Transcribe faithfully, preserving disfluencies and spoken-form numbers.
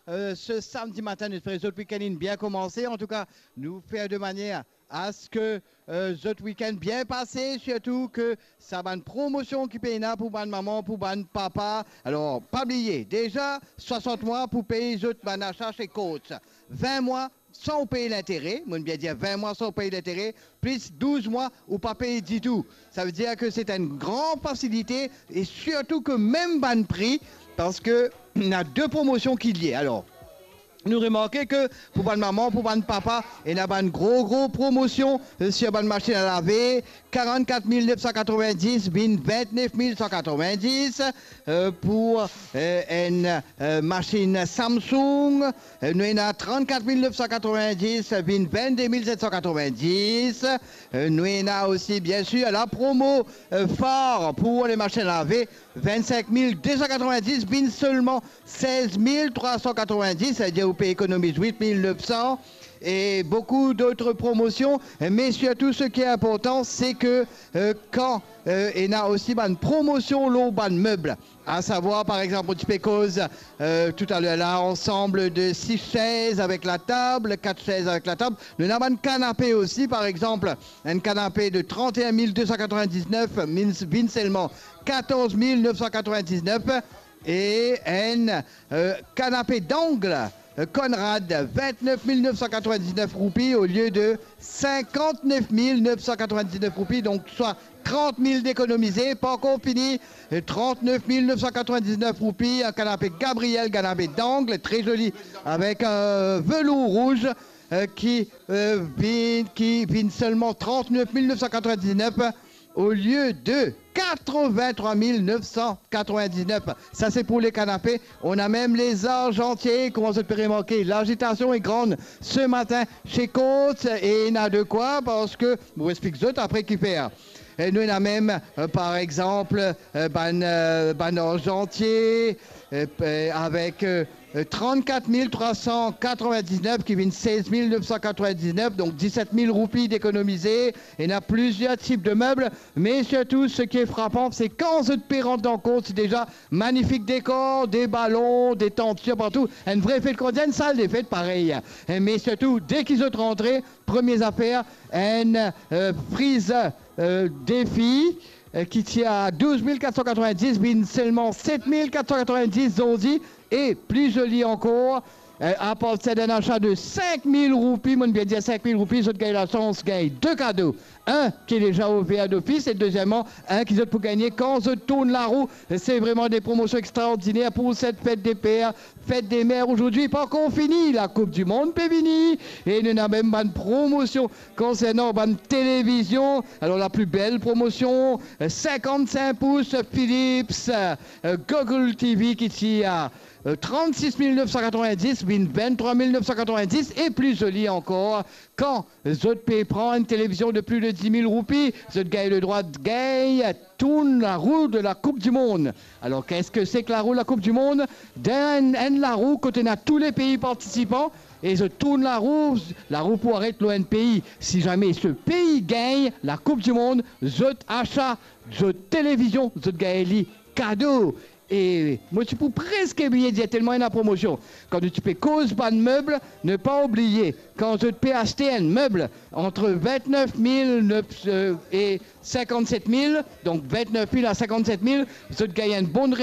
Euh, se samdi matin, nou espere zot week-end inn bien koumanse. Antouka, nou fer de manier a se ke, euh, zot week-end bien pase, sirtou ke sa bann promosion ki pe ena pou bann mama, pou bann papa. Alor, pa bliye, deza swasant mwa pou pey zot bann asa se Courts. Vin mwa san ou pey lintere, mo'nn bien dir vin mwa san ou pey lintere, plis douz mwa ou pa pey ditou. Savedir ke se enn gran fasilite e sirtou ke mem bann pri, parski ena de promosion ki lie. Alor, nou remarke ke pou bann mama, pou bann papa, ena bann gro, gro promosion, euh, sir bann masinn a lave, karannkat mil nef san katrovin-dis vinn vintnef mil san katrovin-dis, euh, pou, euh, enn, euh, masinn Samsung, euh, nou ena trannkat mil nef san katrovin-dis vinn vintde mil set san katrovin-dis, euh, nou ena osi, bien sir, la promo, euh, far pou le masinn a lave, vinnsink mil de san katrovin-dis vinn selman sez mil trwa san katrovin-dis, savedir ou pe ekonomiz wit mil nef san, e boukou dot promosion, me sirtou seki inportan, se ke, euh, kan, euh, ena osi bann promosion lor bann meb, a savwar, par exanp, nou ti pe koz, euh, toutaler la, ansanm de sis sez avek latab, kat sez avek latab, nou ena bann kanape osi, par exanp, enn kanape de trannteen mil de san katrovin-diznef, vinn, vinn selman katorz mil nef san katrovin-diznef, e enn, euh, kanape dangle, euh, Conrad, vintnef mil nef san katrovin-diznef roupi olie de sinkantnef mil nef san katrovin-diznef roupi, donk swa trant mil dekonomize. Pa ankor fini, euh, trannef mil nef san katrovin-diznef roupi, enn kanape Gabriel, kanape dangle, tre zoli, avek, euh, velour rouz, euh, ki, euh, vinn, ki vinn selman trannef mil nef san katrovin-diznef olie de katrovin-trwa mil nef san katrovin-diznef. Sa se pou le kanape. Ena mem le zarzantie, kouma zot pe remarke, lazitasion e gran se matin se Courts, e ena de kwa, parski mo explik zot apre kifer. E nou ena mem, euh, par exanp, euh, bann, euh, bann zarzantie, euh, pe-, avek, euh, euh, trannkat mil trwa san katrovin-diznef ki vinn sez mil nef san katrovin-diznef, donk diset mil roupi dekonomize. Ena plizier tip de meb, me sirtou seki frapan, se kan zot pe rant dan Courts, deza manifik dekor, de balon, de tant sirtou, enn vre fet, kouma dir, enn sal de fet parey. E me sirtou, deki zot rantre, premie zafer, enn, euh, frizer, euh, Defi, euh, ki ti a douz mil kat san katrovin-dis, vinn selman set mil kat san katrovin-dis zordi, e pli zoli ankor, euh, apartir d'enn asa de sink mil roupi, mo'nn bien dir sink mil roupi, zot gagn lasans gagn de kado. Enn ki deza ouver dofis, e dezieman, enn ki zot pou gagne kan zot tourn larou. Se vreman de promosion extraordiner pou set fet de per, fet de mer azordi. Pa ankor fini, la Koup di Mond pe vini, e nou ena mem bann promosion konsernan bann televizion. Alor, la pli bel promosion, euh, sinkannsink pous Philips, euh, Google T V ki ti a, euh, trannsis mil nef san katrovin-dis, vinn vinttrwa mil nef san katrovin-dis, e pli zoli ankor, kan zot pe pran enn televizion de plis de dis mil roupi, zot gagn ledrwa gagn tourn larou de la Koup di Mond. Alor, qu'est-ce que c'est que la roue de la Coupe du Monde? Dan enn, enn larou kot ena tou le pei partisipan, e zot tourn larou, larou pou aret lor enn pei. Si zame se pei gagn la Koup di Mond, zot asa, zot televizion, zot gagn li kado. E mo ti pou preske bliye dir, telman ena promosion. Kan nou ti pe koz bann meb, ne pa oubliye, kan zot pe aste enn meb ant vintnef mil nef, euh, e sinkannset mil, donk vintnef mil a sinkannset mil, zot gagn enn bon